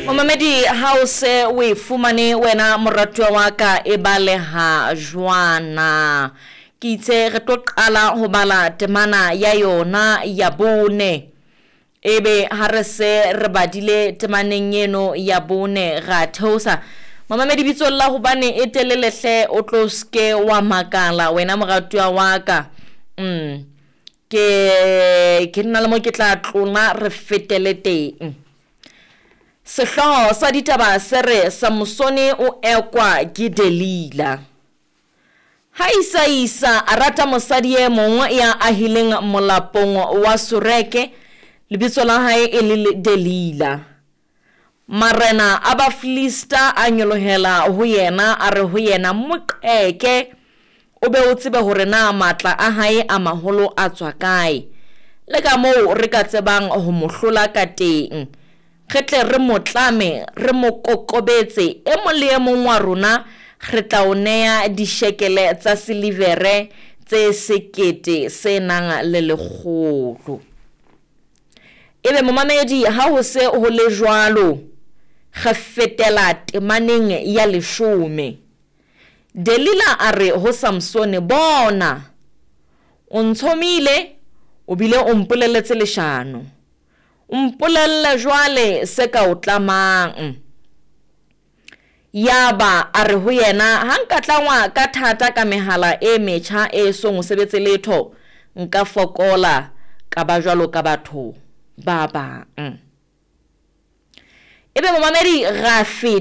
Momamedi, ha o se o e fumane wena moratuwa wa ka e baleha jwana. Ke itse re tlo qala ho bala temana ya yona ya bone. Ebe ha re se re badile temaneng eno ya bone ra theosa. Momamedi bitsong la hobane e telele hle o tlo ske wa makala wena moratuwa wa ka. Mm. Ke ke nna le mo ke tla tlola re fetele teng. Sehlooho sa ditaba se re Samosone o ekwa ke Delila. Ha Isaisa a rata mosadi e mong ya ahileng molapong wa Soreke, lebitso la hae e le Delila. Marena a Bafilista a nyolohela ho yena, a re ho yena, Mo qeke, o be o tsebe hore na matla a hae a maholo a tswa kae, le kamoo re ka tsebang ho mo hlola kateng. Re tle re mo tlame, re mo kokobetse, e mong le e mong wa rona re tla o nea dishekele tsa silivere tse 1100. Ebe momamedi ha ho se ho le jwalo, re fetela temaneng ya leshome. Delila a re ho Samsone, Bona, o ntshomile, o bile o mpoleletse leshano. Mpolelle jwale se ka o tlamang. Yaba a re ho yena, Ha nka tlangwa ka thata ka mehala e metjha e esong ho sebetse letho, nka fokola, ka ba jwalo ka batho ba bang. Ebe momamedi ra feta.